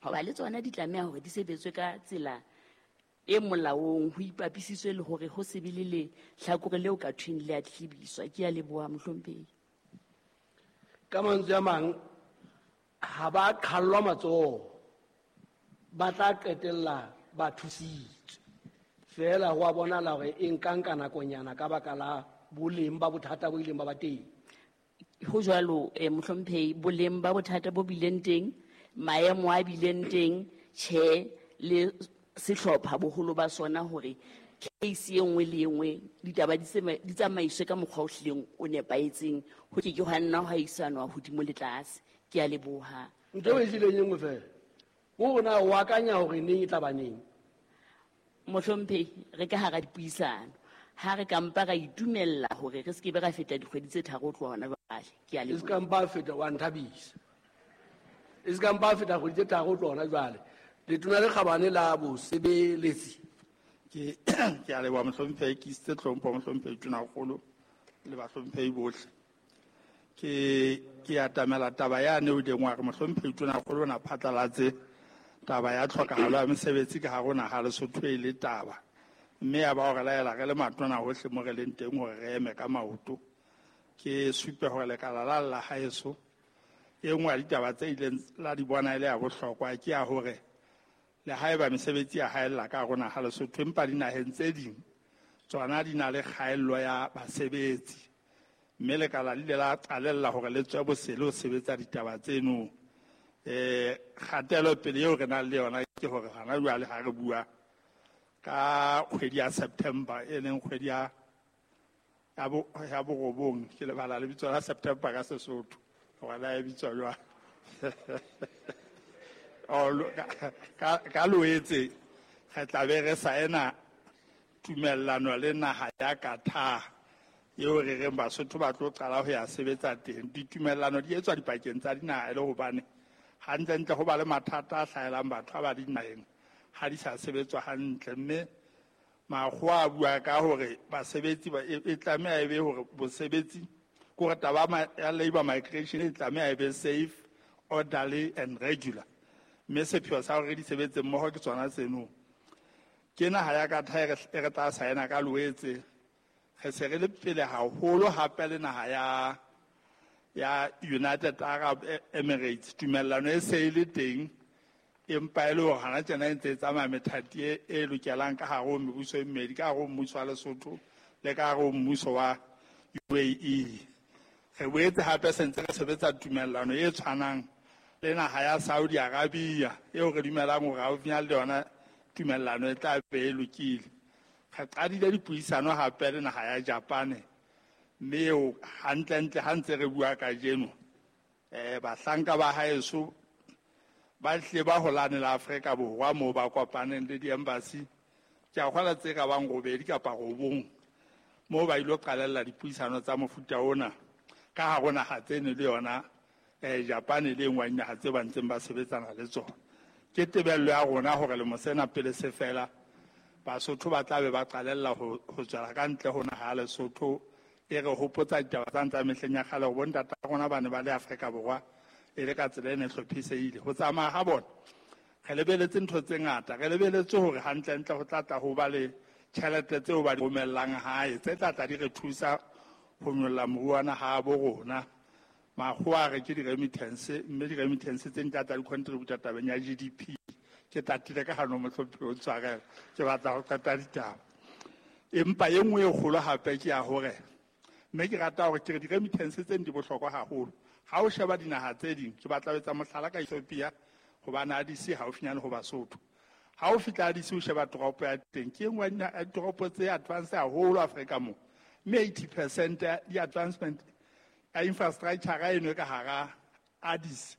Hoba le tsona di tlameha hore di sebetswe ka tsela e molaong, ho ipapisitswe le hore ho se be le lehlakore leo ka thweng le a tlhibiswa. Ke a leboha, mohlomphehi. Ka mantswe a mang, ha ba qhallwa matsoho, ba tla qetella ba thusitswe. Feela ho a bonahala hore e nka nka nakonyana ka baka la boleng ba bothata bo ileng ba ba teng. Ho jwalo, mohlomphehi, boleng ba bothata bo bileng teng, maemo a bileng teng, tjhe, le sehlopha boholo ba sona hore case e nngwe le e nngwe ditaba di tsamaiswe ka mokgwa o hlileng o nepahetseng, ho ke ke hwa nna hwa isanwa hodimo le tlase. Ke a leboha. Ntho e hlileng e nngwe feela, ke hore na o akanya hore neng e tla ba neng? Mohlomphehi, re ka hara dipuisano. Ha re ka mpa ra itumella hore re se ke be ra feta dikgwedi tse tharo ho tloha hona jwale. Ke a E se leboha. ka mpa feta, wa nthabisa. E se ka mpa feta kgwedi tse tharo ho tloha hona jwale. Letona le kgabane la bosebeletsi. Ke a leboha, mohlomphehi, ke isitse tlhompho mohlomphehi Tonakgolo le bahlomphehi bohle. Ke atamela taba yane o ileng wa re mohlomphehi Tonakgolo o na phatlalatse taba ya tlhokahalo ya mesebetsi ka hare ho naha Lesotho e le taba. Mme ya ba hore laela re le matona hohle mo re leng teng hore re eme ka maoto. Ke supe hore lekala la la haeso, e nngwe ya ditaba tse ileng la di bona e le ya bohlokwa ke ya hore le haeba mesebetsi ya haella ka hare ho naha Lesotho, empa dinaheng tse ding tsona di na le kgaello ya basebetsi. Mme lekala le ile la qalella hore le tswe bosele ho sebetsa ditaba tseno. Kgatelopele eo re nang le yona ke hore hona jwale ha re bua ka kgwedi ya September, e leng kgwedi ya borobong, ke lebala lebitso la September ka Sesotho hore la e bitswa jwang. Oh, ka Loetse re tla be re saena tumellano le naha ya Qatar eo re reng Basotho ba tlo qala ho ya sebetsa teng. Ditumellano di etswa dipakeng tsa dinaha e le hobane hantlentle ho ba le mathata a hlahelang batho ba ba dinaheng ha di sa sebetswa hantle. Mme makgowa a bua ka hore basebetsi ba, e tlameha e be hore bosebetsi, ke hore taba ya labour migration e tlameha e be safe, orderly and regular. Mme sepheo sa hore re di sebetse mmoho ke tsona tseno. Ke naha ya Qatar e re tla saena ka Loetse. Re se re le pele haholo hape le naha ya United Arab Emirates. Tumellano e se e le teng, empa e le hore hana tjena e ntse e tsamaya methati e lokelang ka hare ho mebuso e mmedi, ka hare ho mmuso wa Lesotho le ka hare ho mmuso wa UAE. Re boetse hape se ntse re sebetsa tumellano e tshwanang le naha ya Saudi Arabia, eo re dumelang hore haufinyane le yona tumellano e tla be e lokile. Re qadile dipuisano hape le naha ya Japan, mme eo hantlentle ha ntse re bua kajeno, bahlanka ba haeso ba hlile ba holane la Afrika Borwa moo ba kopaneng le di-embassy. Ke a kgolwa tse ka bang robedi kapa robong moo ba ilo qalella dipuisano tsa mofuta ona ka hare ho naha tseno le yona, Japan le e nngwe ya dinaha tse ba ntseng ba sebetsana le tsona. Ke tebello ya rona hore lemo sena pele se fela, Basotho ba tla be ba qalella ho tswela ka ntle ho naha ya Lesotho. E re hopotsa ditaba tsa ntsa mehleng ya kgale hore bontata rona ba ne ba le Afrika Borwa e le ka tsela e ne hlophisehile. Ho tsamaya ha bona, re lebeletse ntho tse ngata. Re lebeletse hore hantlentle ho tla tla ho ba le tjhelete tseo ba di romellang hae, tse tla tla di re thusa ho nyolla moruo wa naha ya bo rona. Makgowa a re ke di-remittance, mme di-remittance tse di tla tla di contributa tabeng ya GDP. Ke tatile ka hano mohlomphehi o ntshwarela, ke batla ho qeta ditaba. Empa e nngwe e kgolo hape ke ya hore, mme ke rata hore ke re di-remittance tse di bohlokwa haholo. Ha o sheba dinaha tse ding, ke batla ho etsa mohlala ka Ethiopia, hobane Addis haufinyane ho Basotho. Ha o fihla Addis o sheba toropo ya teng, ke e nngwe ya ditoropo tse advance haholo Afrika moo. Mme 80% ya di-advancement ya infrastructure eno e ka hara Addis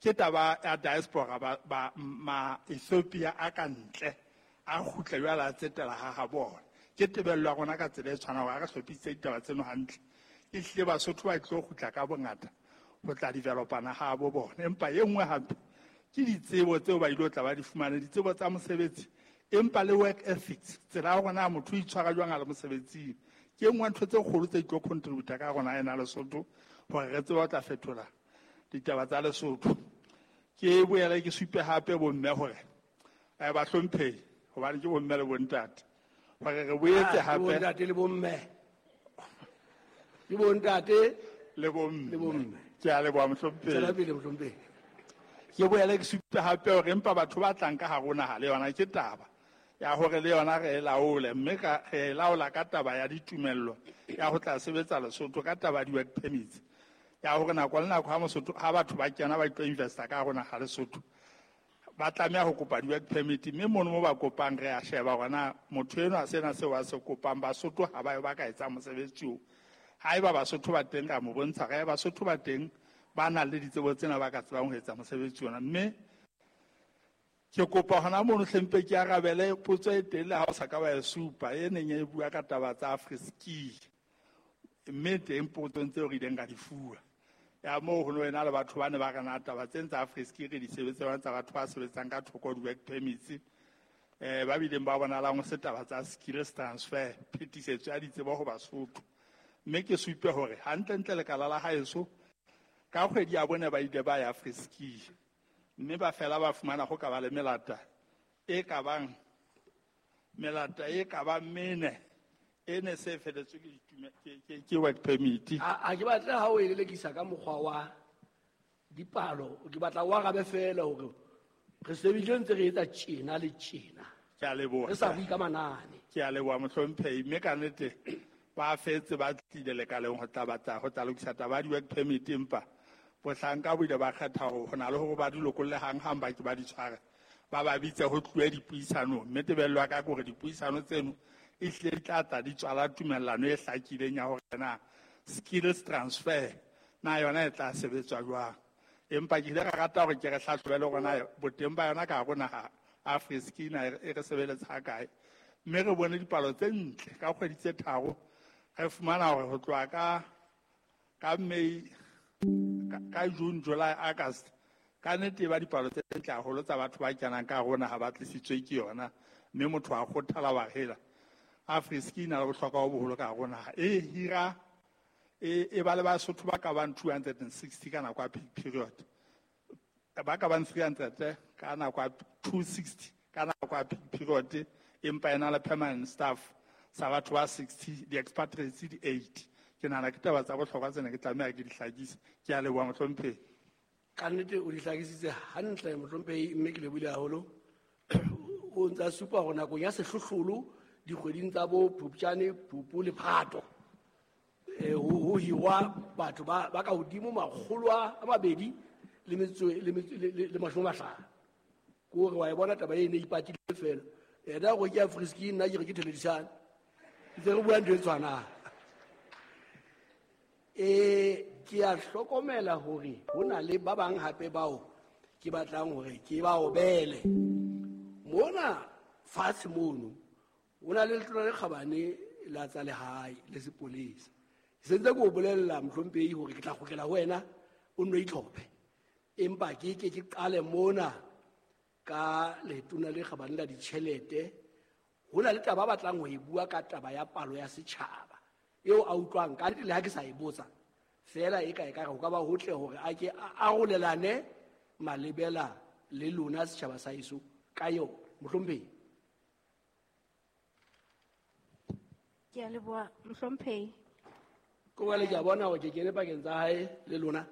ke taba ya diaspora ba ma Ethiopia a ka ntle a kgutla jwale a tsetela ha ha bona. Ke tebello ya rona ka tsela e tshwanang hore ha re hlophisitse ditaba tseno hantle, ehlile Basotho ba tlo kgutla ka bongata ho tla developa naha ya bo bona. Empa e nngwe hape ke ditsebo tseo ba ilo tla ba di fumane, ditsebo tsa mosebetsi, empa le work ethics, tsela ya rona motho o itshwara jwang a le mosebetsing. Ke e nngwe ya ntho tse kgolo tse tlo contributa ka rona ena Lesotho hore re tsebe ho tla fetola ditaba tsa Lesotho. Ke boele ke supe hape bomme hore bahlomphehi, hobane ke bomme le bontate, hore re boetse hape bontate le bomme. Ke bontate le bomme. Le bomme. Ke a leboha mohlomphehi. Tswela pele mohlomphehi. Ke boele ke supe hape hore empa batho ba tlang ka hare ho naha le yona ke taba ya hore le yona re e laole, mme re e laola ka taba ya ditumello ya ho tla sebetsa Lesotho, ka taba ya di-work permits, ya hore nako le nako ha batho ba kena ba tlo investa ka hare ho naha Lesotho, ba tlameha ho kopa di-work permit, mme mono mo ba kopang re a sheba hore na motho enwa sena seo a se kopang Basotho ha ba yo ba ka etsang mosebetsi oo. Haeba Basotho ba teng, ra mo bontsha re Basotho ba teng ba nang le ditsebo tsena ba ka tsebang ho etsa mosebetsi ona. Mme ke kopa hona mono hlempe ke arabele potso e teng le ha o sa ka wa e supa, e neng e bua ka taba tsa Afriski, mme teng potsong tseo re ileng ra di fuwa ya moo ho no ena le batho ba ne ba re na taba tsena tsa Afriski re di sebetsang tsa batho ba sebetsang ka thoko di-work permits, ba bileng ba bonalang ho se taba tsa skills transfer, phetisetso ya ditsebo ho Basotho. Mme ke supe hore hantlentle lekala la haeso ka kgwedi ya bone ba ile ba ya Afriski, mme ba fela ba fumana ho ka ba le melata e ka bang melata e ka bang mene e ne se feletswe ke ke work permit. A ke batle ha o e lelekisa ka mokgwa wa dipalo, ke batla o arabe fela hore re sebeditse ntse re etsa tjena le tjena. Ke a leboha. Re sa bue ka manane. Ke a leboha mohlomphehi, mme ka nnete ba fetse ba tlile lekaleng ho tla batla ho tla lokisa taba ya di-work permit, empa bohlanka bo ile ba kgetha hore ho na le hore ba di lokolle hang-hang ba ke ba di tshware, ba ba bitse ho tluwe dipuisanong. Mme tebello ya ka ke hore dipuisano tseno e hlile di tla tla di tswala tumellano e hlakileng ya hore na skills transfer na yona e tla sebetswa jwang. Empa ke ile ka rata hore ke re hlahlobe le hore na boteng ba yona ka hare ho naha Afriski na e re sebeletsa ha kae. Mme re bone dipalo tse ntle ka kgwedi tse tharo, re fumana hore ho tloha ka May, ka June, July, August, ka nnete ba dipalo tse ntle haholo tsa batho ba kenang ka hare ho naha ba tlisitswe ke yona, mme motho a kgothala wa hela. Afriski e na le bohlokwa bo boholo ka hare ho naha. E hira, e ba le Basotho ba ka bang 260 ka nako ya peak period, ba ka bang 300 ka nako ya 260 ka nako ya peak period, empa e na le permanent staff sa batho ba 60, di-expatriates di 80. Ke nahana ke taba tsa bohlokwa tsena ke tlameha ke di hlakise. Ke a leboha mohlomphehi. Ka nnete o di hlakisitse hantle mohlomphehi, mme ke lebohile haholo. O ntsa supa hore nakong ya sehlohlolo dikgweding tsa bo Phupjane, Phupu le Phato, ho hirwa batho ba ka hodimo makgolo a mabedi le metso, le metso, le, le, le mashome a mahlano. Ke hore wa e bona taba e ne ipatile fela. Yena hore ke Afriski, nna ke re ke Theledišane. Ntse re bua ntho e tshwanang. Ke a hlokomela hore ho na le ba bang hape bao ke batlang hore ke ba obele. Mona fatshe mono ho na le letona le kgabane la tsa lehae le sepolesa. Ke sentse ke o bolella mohlomphehi hore ke tla kgutlela ho wena o nno itlhophe. Empa ke ke ke qale mona ka letona le kgabane la ditjhelete. Ho na le taba ba batlang ho e bua ka taba ya palo ya setjhaba eo a utlwang ka nnete le ha ke sa e botsa fela e ka e ka re ho ka ba hotle hore a ke a arolelane malebela le lona setjhaba sa heso ka yona. Mohlomphehi. Ke a leboha mohlomphehi. Ke jwale ke a bona hore ke kene pakeng tsa hae le lona,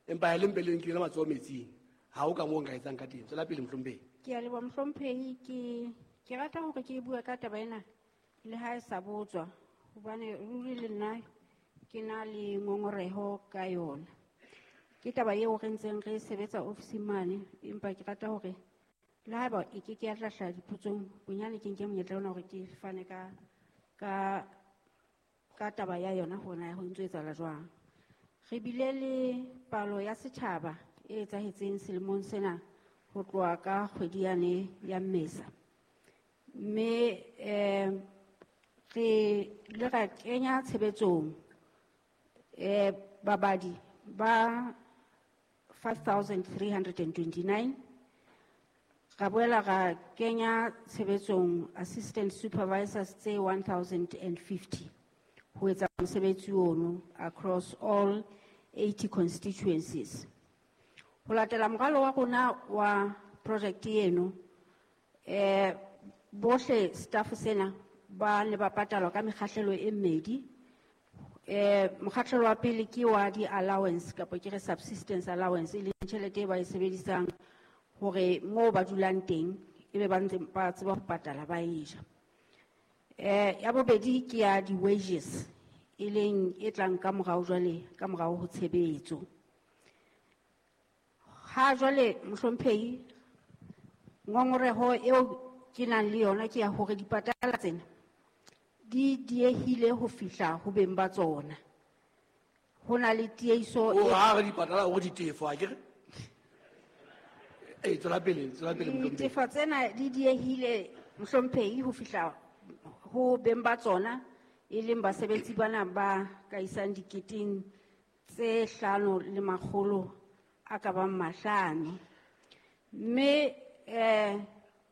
empa ha le mpe le nkile matsoho metsing. Ha ho ka moo nka etsang ka teng. Tswela pele mohlomphehi. Ke a leboha mohlomphehi. Ke rata hore ke bue ka taba ena le ha e sa botswa, hobane ruri le nna ke na le ngongoreho ka yona. Ke taba eo re ntseng re sebetsa ofising mane, empa ke rata hore le haeba e ke ke ya tla hlaha dipotsong, bonyane ke nke monyetla ona hore ke fane ka taba ya yona hore na ho ntso etsahala jwang. Re bile le palo ya setjhaba e etsahetseng selemong sena ho tloha ka kgwedi yane ya Mmesa. Mme re ile ra kenya tshebetsong babadi ba 5,329. Ra boela ra kenya tshebetsong assistant supervisors tse 1,050 ho etsa mosebetsi ono across all 80 constituencies. Ho latela moralo wa rona wa project eno, bohle staff sena ba ne ba patalwa ka mekgahlelo e mmedi. Mokgahlelo wa pele ke wa di-allowance kapa ke re subsistence allowance, e leng tjhelete e ba e sebedisang hore moo ba dulang teng ebe ba ntse ba tseba ho patala ba e ja. Ya bobedi ke ya di-wages, e leng e tlang ka morao jwale, ka morao ho tshebetso. Ha jwale mohlomphehi, ngongoreho eo ke nang le yona ke ya hore dipatala tsena di diehile ho fihla ho beng ba tsona. Ho na le tiehiso O e ha re dipatala o re ditefo, ha ke re? Tswela pele, tswela pele, mohlomphehi. Ditefo tsena di diehile mohlomphehi ho fihla ho beng ba tsona, e leng basebetsi bana ba ka isang diketeng tse hlano le makgolo a ka bang mahlano. Mme,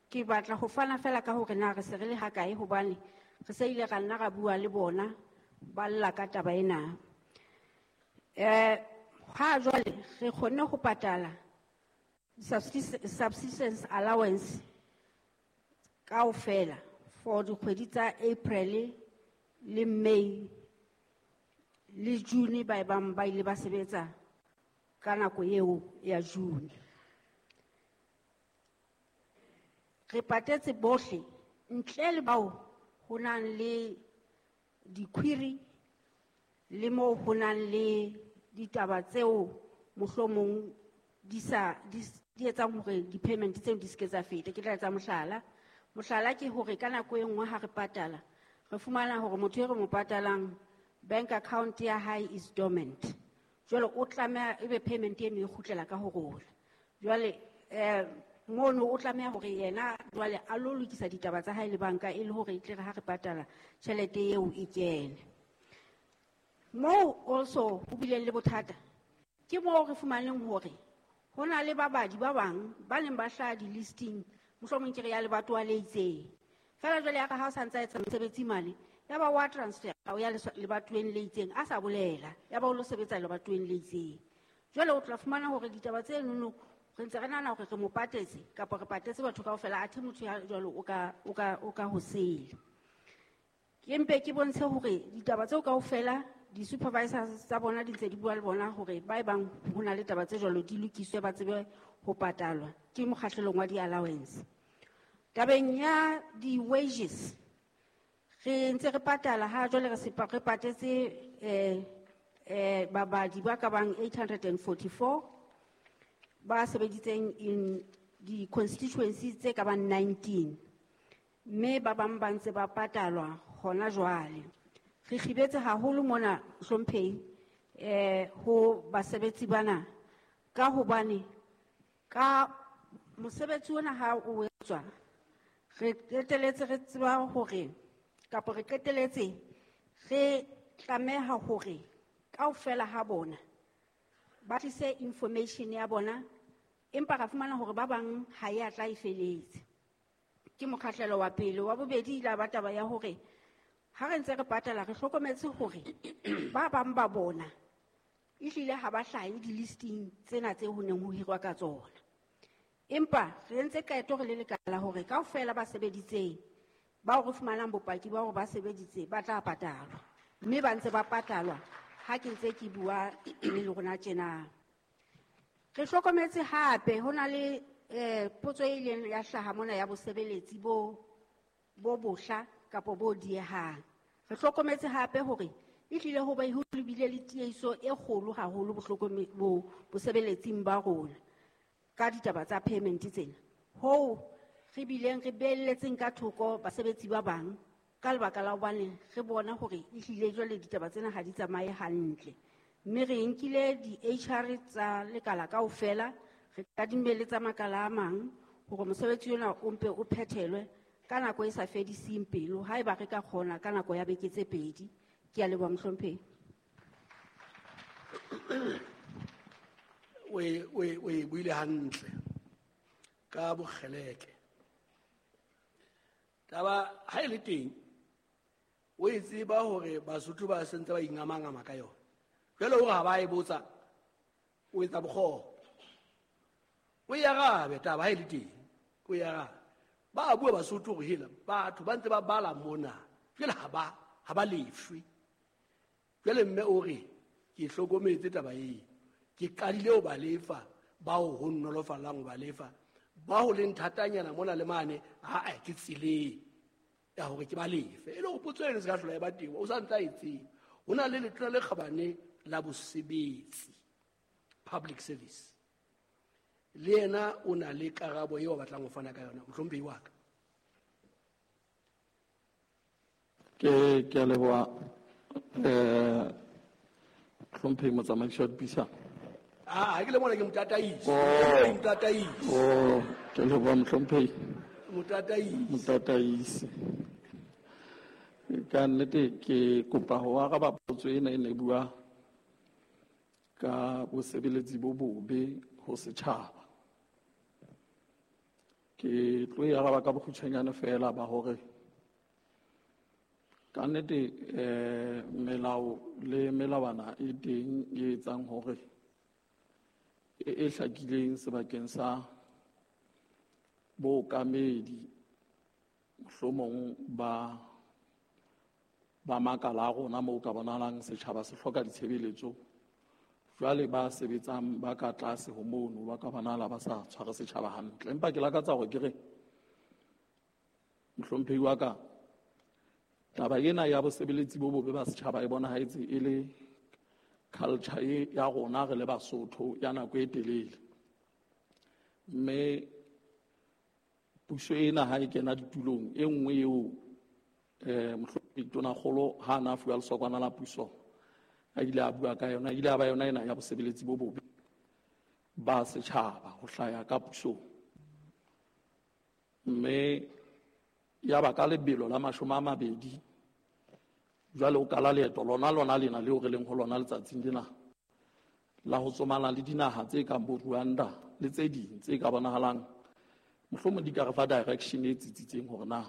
ke batla ho fana fela ka hore na re se re le hakae, hobane re se ile ra nna ra bua le bona ba lla ka taba ena. Ha jwale re kgonne ho patala subsistence allowance kaofela for dikgwedi tsa April le May le June, ba bang ba ile ba sebetsa ka nako eo ya June. Re patetse bohle ntle le bao ho nang le di-query le moo ho nang le ditaba tseo mohlomong di sa, di s-, di etsang hore di-payment tseo di se ke tsa feta. Ke tla etsa mohlala. Mohlala ke hore ka nako e nngwe ha re patala, re fumana hore motho e re mo patalang bank account ya hae is dormant. Jwale o tlameha ebe payment eno e kgutlela ka ho rona. Jwale, mono o tlameha hore yena jwale a lo lokisa ditaba tsa hae le banka e le hore e tle re ha re patala tjhelete eo e kene. Moo also ho bileng le bothata ke moo re fumaneng hore ho na le babadi ba bang ba neng ba hlaha di-listing, mohlomong ke re ya lebatowa le itseng. Feela jwale ya ka ha o sa ntsa etsa mosebetsi mane, ya ba wa transfer o ya lebatoweng le itseng, a sa bolela, ya ba o lo sebetsa lebatoweng le itseng. Jwale o tla fumana hore ditaba tse nono re ntse re nahana hore re mo patetse kapa re patetse batho kaofela, athe motho ya jwalo o ka ho sele. Ke mpe ke bontshe hore ditaba tseo kaofela di-supervisors tsa bona di ntse di bua le bona hore ba e bang ho na le taba tse jwalo di lokiswe ba tsebe ho patalwa ke mokgahlelong wa di-allowance. Tabeng ya di-wages, re ntse re patala ha jwale re se re patetse, babadi ba ka bang 844 ba sebeditseng in di-constituencies tse ka bang 19, mme ba bang ba ntse ba patalwa hona jwale. Re kgibetse haholo mona hlomphehi, ho basebetsi bana, ka hobane ka mosebetsi ona ha o etswa, re qeteletse re tseba hore, kapa re qeteletse re tlameha hore kaofela ha bona ba tlise information ya bona, empa ra fumana hore ba bang ha e a tla e feletse. Ke mokgahlelo wa pele. Wa bobedi ile ba taba ya hore ha re ntse re patala re hlokometse hore ba bang ba bona ehlile ha ba hlahe di-listing tsena tse ho neng ho hirwa ka tsona. Empa re entse qeto re le lekala hore kaofela ba sebeditseng, bao re fumanang bopaki ba hore ba sebeditse, ba tla patalwa. Mme ba ntse ba patalwa ha ke ntse ke bua le lona tjena. Re hlokometse hape ho na le, potso e ileng ya hlaha mona ya bosebeletsi bo bohla kapa bo diehang. Re hlokometse hape hore ehlile ho ba ho bile le tiehiso e kgolo haholo bosebeletsing ba rona ka ditaba tsa payment tsena. Hoo re bileng re beelletseng ka thoko basebetsi ba bang ka lebaka la hobane re bona hore ehlile jwale ditaba tsena ha di tsamaye hantle. Mme re nkile di-H R tsa lekala kaofela, re kadimme le tsa makala a mang hore mosebetsi ona o mpe o phethelwe ka nako e sa fediseng pelo, haeba re ka kgona ka nako ya beke tse pedi. Ke a leboha mohlomphehi. O e buile hantle ka bokgeleke. Taba ha e le teng, o e tseba hore Basotho ba sentse ba ingamangama ka yona. Jwale hore ha ba e botsa, o etsa bokgopo. O e arabe taba ha e le teng, o e arabe. Ba bua Basotho hore hela batho ba ntse ba bala mona, jwale ha ba lefwe. Jwale mme o re ke hlokometse taba eo, ke qadile ho ba lefa bao ho nnolofallang ho ba lefa, ba ho leng thatanyana mona le mane, ha ke tseleng ya hore ke ba lefe. E le hore potso eno se ka hlola e ba teng, o sa ntse a e tseba. Ho na le letona le kgabane la bosebetsi, public service, le yena o na le karabo eo a batlang ho fana ka yona. Mohlomphehi wa ka. Ke a leboha, mohlomphehi motsamaisi wa dipuisano. Ha ke le mona ke motataisi. Oh. Ke motataisi. Oh, ke leboha mohlomphehi. Motataisi. Motataisi. Ka nnete ke kopa ho araba potso ena e ne bua ka bosebeletsi bo bobe ho setjhaba. Ke tlo e araba ka bokgutshwanyane fela ba hore ka nnete, melao le melawana e teng e etsang hore e hlakileng sebakeng sa bookamedi mohlomong ba makala a rona moo ka bonahalang setjhaba se hloka ditshebeletso. Jwale ba sebetsang ba ka tlase ho mono ba ka bonahala ba sa tshware setjhaba hantle. Empa ke lakatsa hore ke re mohlomphehi wa ka, taba ena ya bosebeletsi bo bobe ba setjhaba e bonahetse e le culture e ya rona re le Basotho ya nako e telele. Mme puso ena ha e kena ditulong e nngwe eo, mohlomphehi Tonakgolo ha a na fuwa lesokwana la puso a ile a bua ka yona, ile a ba yona ena ya bosebeletsi bo bobe ba setjhaba ho hlaya ka pusong. Mme ya ba ka lebelo la 20 jwale o kala leeto lona lena leo re leng ho lona letsatsing lena la ho tsomana le dinaha tse kang bo Rwanda le tse ding tse ka bonahalang mohlomong di ka re fa direction e tsitsitseng hore na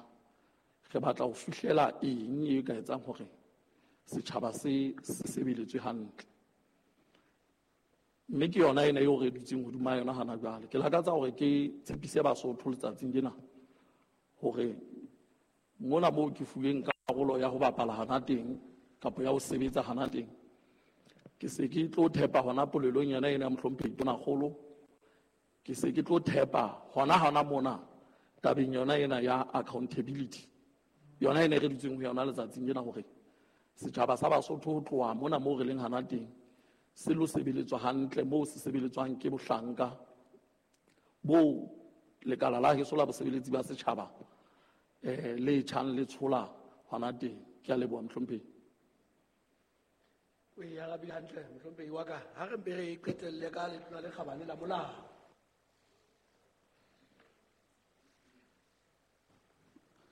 re batla ho fihlela eng e ka etsang hore setjhaba se sebeletswe hantle. Mme ke yona ena eo re dutseng hodima yona hana jwale. Ke lakatsa hore ke tshepise Basotho letsatsing lena hore mona moo ke fuweng karolo ya ho bapala hana teng kapa ya ho sebetsa hana teng, ke se ke tlo thepa hona polelong yona ena ya mohlomphehi Tonakgolo, ke se ke tlo thepa hona mona tabeng yona ena ya accountability, yona ena e re dutseng ho yona letsatsing lena, hore setjhaba sa Basotho ho tloha mona moo re leng hana teng se lo sebeletswa hantle moo se sebeletswang ke bohlanka bo lekala la heso la bosebeletsi ba setjhaba, le tjhang le tshola hona teng. Ke a leboha mohlomphehi. O e arabile hantle mohlomphehi wa ka. Ha re mpe re qetelle ka letona le kgabane la molao.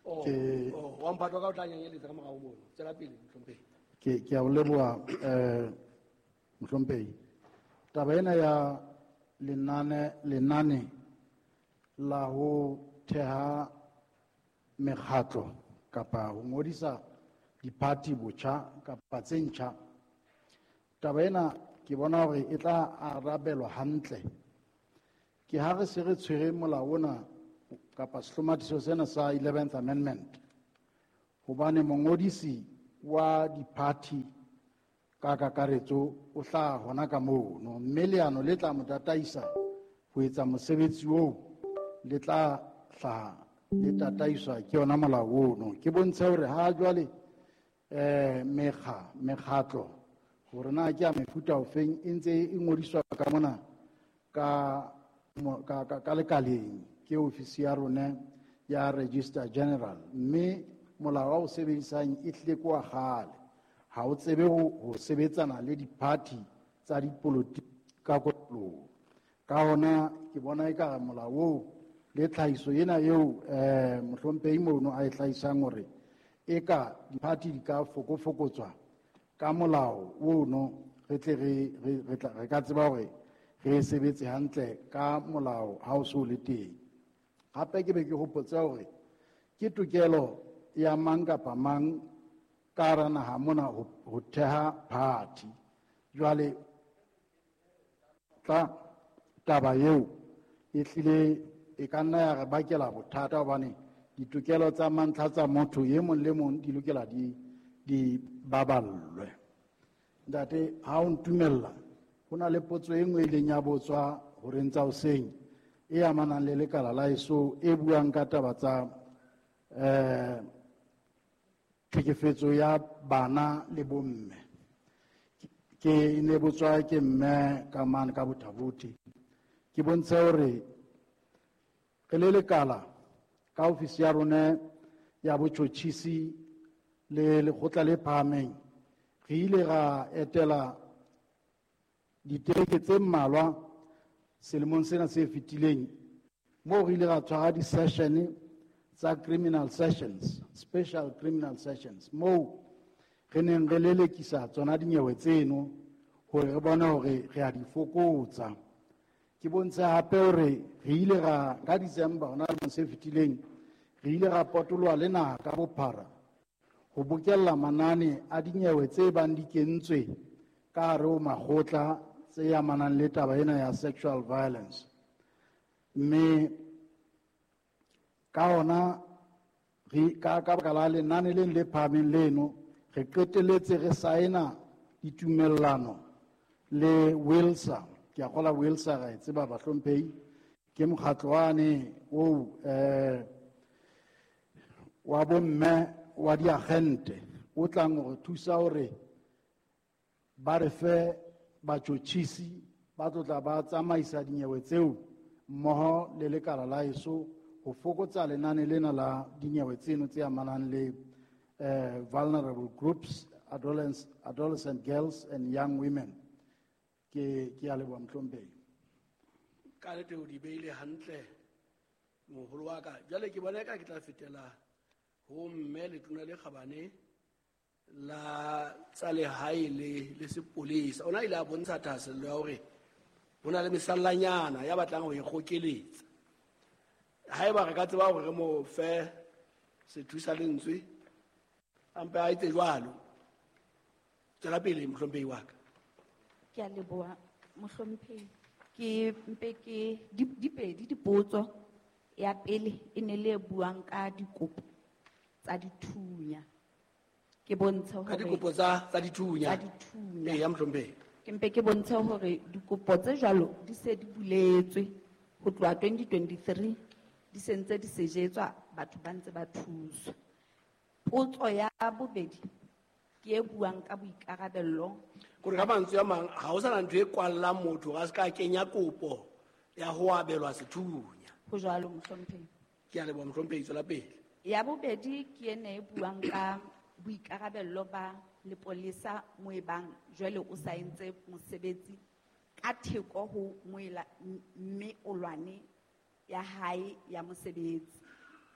Oh, oh, wa mphatwa ka o tla nyanyeletsa ka morao mono. Tswela pele mohlomphehi. Ke a o leboha, mohlomphehi. Taba ena ya lenane la ho theha mekgatlo kapa ho ngodisa diphathi botjha kapa tse ntjha, taba ena ke bona hore e tla arabelwa hantle. Ke ha re se re tshwere molao ona kapa sehlomathiso sena sa 11th Amendment, hobane mongodisi wa diphathi ka kakaretso o hlaha hona ka mono, mme leano le tla mo tataisa ho etsa mosebetsi oo le tla hlaha le tataiswa ke yona molao ono. Ke bontshe hore ha jwale, mekgatlo hore na ke ya mefuta ofeng e ntse e ngodiswa ka mona ka lekaleng ke ofisi ya rona ya Registrar General, mme molao wa o sebedisang e hlile ke wa kgale, ha o tsebe ho sebetsana le diphathi tsa dipolotiki ka kotloloho. Ka hona ke bona ekare molao oo le tlhahiso ena eo, mohlomphehi mono a e hlahisang hore eka diphathi di ka fokofokotswa ka molao ono, re tle re ka tseba hore re sebetse hantle ka molao ha o so le teng. Hape ke be ke hopotse hore ke tokelo ya mang kapa mang ka hara naha mona ho theha party. Jwale tla taba eo e hlile e ka nna ya re bakela bothata hobane ditokelo tsa mantlha tsa motho e mong le mong di lokela di baballwe. Ntate, ha o ntumella, ho na le potso e nngwe e ileng ya botswa horeng tsa hoseng e amanang le lekala la eso e buang ka taba tsa tlhekefetso ya bana le bomme. Ke ne botswa ke mme ka mane ka Bothabothi. Ke bontshe hore re le lekala ka ofisi ya rona ya botjhotjhisi le lekgotla le phahameng, re ile ra etela ditereke tse mmalwa selemong sena se fetileng, moo re ile ra tshwara di-session tsa criminal sessions, special criminal sessions, moo re neng re lelekisa tsona dinyewe tseno hore re bone hore re a di fokotsa. Ke bontshe hape hore re ile ra ka December hona lemong se fetileng, re ile ra potoloha le naha ka bophara ho bokella manane a dinyewe tse bang di kentswe ka hare ho makgotla tse amanang le taba ena ya sexual violence. Mme ka hona re ka baka la lenane leng le phahameng leno, re qetelletse re saena ditumellano le WILSA. Ke a kgolwa WILSA ra e tseba bahlomphehi, ke mokgatlo wane oo wa bomme wa diagente o tlang ho re thusa hore ba re fe batjhotjhisi ba tlo tla ba tsamaisa dinyewe tseo mmoho le lekala la eso ho fokotsa lenane lena la dinyewe tseno tse amanang le vulnerable groups, adolescent girls and young women. Ke a leboha mohlomphehi. Ka nnete o di beile hantle moholo wa ka. Jwale ke bona eka ke tla fetela ho mme letona le kgabane la tsa lehae le sepolesa. Ona ile a bontsha thahasello ya hore ho na le mesallanyana ya batlang ho e kgokeletsa. Haeba re ka tseba hore re mo fe sethusa lentswe, a mpe a etse jwalo. Tswela pele mohlomphehi wa ka. Ke a leboha mohlomphehi. Ke mpe ke di pedi dipotso. Ya pele e ne le e buang ka dikopo tsa dithunya. Ke bontshe Ka hore dikopo tsa dithunya. Tsa dithunya. Ee, ya mohlomphehi. Ke mpe ke bontshe hore dikopo tse jwalo di se di buletswe ho tloha 2023, di se ntse di sejetswa, batho ba ntse ba thuswa. Potso ya bobedi ke e buang ka boikarabello. Kore ka mantswe a mang, ha ho sana ntho e kwallang motho hore a se ka kenya kopo ya ho abelwa sethunya. Ho jwalo mohlomphehi. Ke a leboha mohlomphehi, tswela pele. Ya bobedi ke ena e buang ka boikarabello ba lepolesa mo e bang jwale o saentse mosebetsi ka theko ho moela mme o lwane ya hae ya mosebetsi.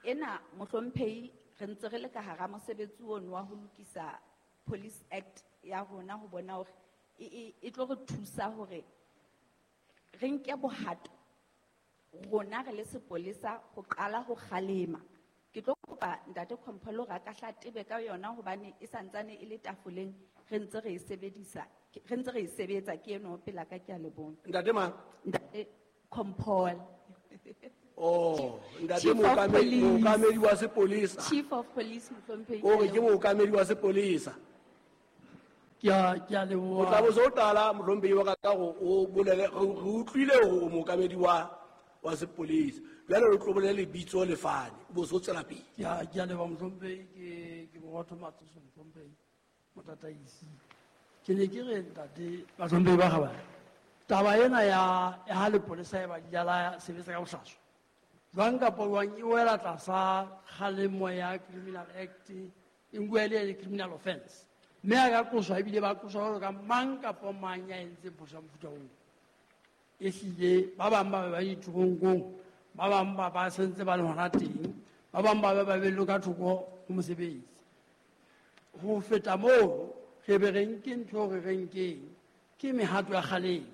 Ena mohlomphehi re ntse re le ka hara mosebetsi ono wa ho lokisa Police Act ya rona ho bona hore e tlo re thusa hore re nke bohato rona re le sepolesa ho qala ho kgalema. Ke tlo kopa ntate Kompolo hore a ka hla tebe ka yona hobane e santsane e le tafoleng, re ntse re e sebedisa, re ntse re e sebetsa, ke eno pela ka, ke a leboha. Ntate mang? Ntate Kompolo. Oh, ntate Chief of Police. mookamedi wa sepolesa. Chief of Police mohlomphehi. O re ke mookamedi wa sepolesa. Ke a leboha. O tla bo so qala mohlomphehi wa ka ka hore o bolele, re utlwile hore o mookamedi wa sepolesa. Jwale o tlo bolele lebitso le fane, o bo so tswela pele. Ke a leboha mohlomphehi, ke Borotho Matsoso mohlomphehi, motataisi. Ke ne ke re ntate bahlomphehi ba kgabane, taba ena ya ha lepolesa e ba di jala sebetsa ka bohlaswa. Jwang kapa jwang e wela tlasa kgalemo ya Criminal Act, e nkuwa e le criminal offense. Mme a ka qoswa ebile ba qoswa jwalo ka mang kapa mang ya entseng phoso ya mofuta oo. Ehlile ba bang ba be ba diteronkong, ba bang ba ba sentse ba le hona teng, ba bang ba be ba behellwe ka thoko ho mosebetsi. Ho feta moo, re be re nke ntho eo re re nkeng, ke mehato ya kgalemo.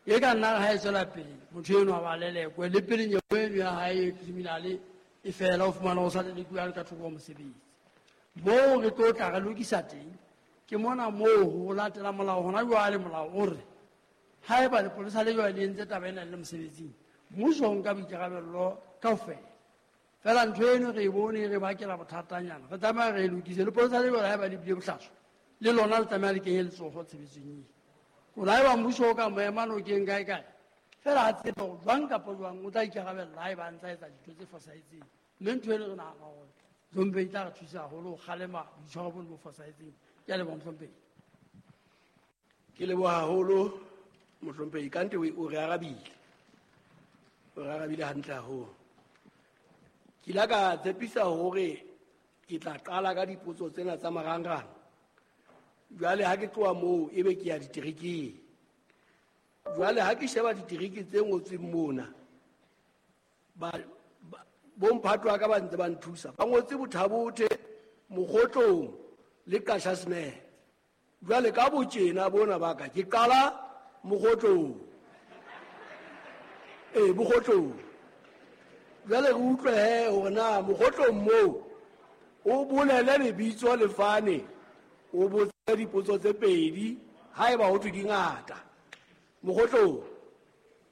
E ka nna ha e tswela pele, motho enwa ba lelekwe, le pele nyewe eno ya hae e criminal e fela, o fumana o sa lelekuwe a le ka thoko ho mosebetsi. Moo re tlo tla re lokisa teng, ke mona moo ho latela molao hona jwale, molao o re haeba lepolesa le jwale le entse taba ena le le mosebetsing, Mmuso o nka boikarabello kaofela. Fela ntho eno re e bone e re bakela bothatanyana. Re tlameha re e lokise. Lepolesa le lona haeba le bile bohlaswa, le lona le tlameha le kenye letsoho tshebetsong eo. Hore haeba mmuso o ka mo ema nokeng kae kae, fela a tsebe hore jwang kapa jwang o tla ikarabella haeba a ntsa etsa dintho tse fosahetseng. Mme ntho eno re nahana hore Mohlomphehi e tla re thusa haholo ho kgalema boitshwaro bono bo fosahetseng. Ke a leboha, Mohlomphehi. Ke leboha haholo, Mohlomphehi. Kante o re arabile. O re arabile hantle haholo. Ke ile ka tshepisa hore ke tla qala ka dipotso tsena tsa marangrang. Jwale ha ke tloha moo ebe ke ya diterekeng. Jwale ha ke sheba ditereke tse ngotsweng mona, bomphato wa ka ba ntse ba nthusa. Ba ngotse Bothabothe, Mokgotlong le Qashasnele. Jwale ka botjena bona ba ka ke qala Mokgotlong. Ee, Mokgotlong. Jwale re utlwe he hore na Mokgotlong moo o bolele lebitso lefane, o botse dipotso tse pedi haeba ho thwe di ngata. Mokgotlong.